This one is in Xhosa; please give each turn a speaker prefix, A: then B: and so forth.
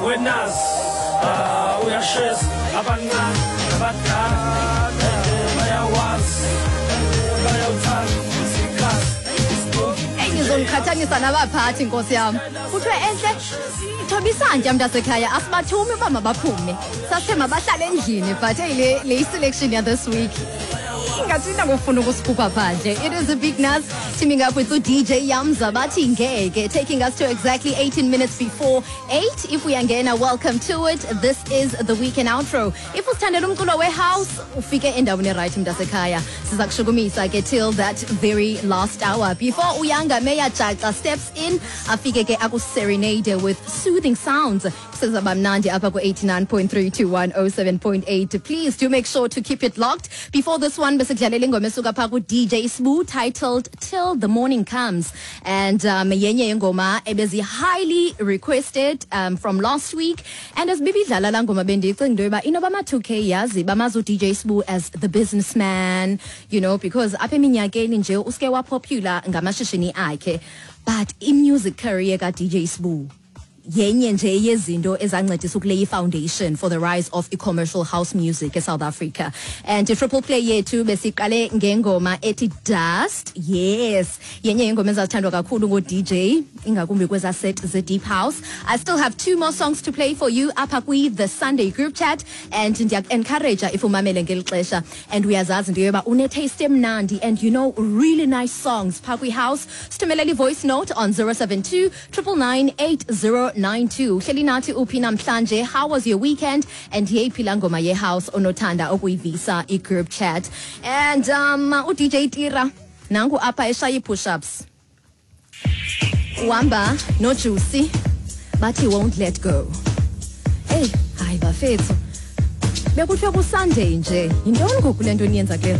A: Wenazi, ah, uyashesa abancane abadala bayawazi bayawuthanda isikhathi.
B: Eyi, nizondiqhathanisa nabaphathi, nkosi yam. Kuthiwe entle thoba isantya, mntasekhaya, asibathumi uba mabaphume, sasithe mabahlale endlini, but hey, le i-selection ya this week ingathi inakufuna ukusikhupha phandle. It is a Big Nas teaming up with uDJ Yamza, bathi Ngeke, taking us to exactly 18 minutes before 8. If uyangena, welcome to it. This is the weekend outro. If usithandela umculo wehouse, ufike endaweni right, mntasekhaya. Siza kushukumisa ke till that very last hour before uYanga Meya Jaca steps in, afike ke akuserenade with soothing sounds. Kusezaba mnandi apha ku-89.3 to 107.8. Please do make sure to keep it locked. Before this one, besikudlalela ingoma esuka phaa ku-DJ Sbu titled Till the Morning Comes, and yenye yengoma ebezi-highly requested from last week. And as bibidlala laa ngoma, bendicinga into yoba inoba ama-2K yazi bamazi uDJ Sbu as the businessman, because apha eminyakeni nje uske wapopular ngamashishini akhe, but i-music career ka-DJ Sbu yenye nje yezinto ezancedisa ukuleya i-foundation for the rise of i-commercial house music eSouth Africa. And i-triple play yethu besiqale ngengoma ethi Dust. Yes, yenye yengoma ezazithandwa kakhulu ngo-DJ, ingakumbi kweza set ze-deep house. I still have two more songs to play for you apha kwi-the Sunday group chat, and ndiyaku-encourage, if umamele ngeli xesha and uyazazi into yoba une-taste emnandi and you know really nice songs phaa kwi-house, sithumelela i-voice note on 072 999 8092. Uhleli nathi uphi namhlanje? How was your weekend? And yeyiphi laa ngoma yehouse onothanda ukuyivisa i-group chat? And uDJ Tira nangu apha eshaya ii-push-ups, uhamba noJuicy, bathi Won't Let Go. Eyi, hayi bafethu, bekuthiwe kuSunday nje, yintoni ngoku le nto niyenza kule?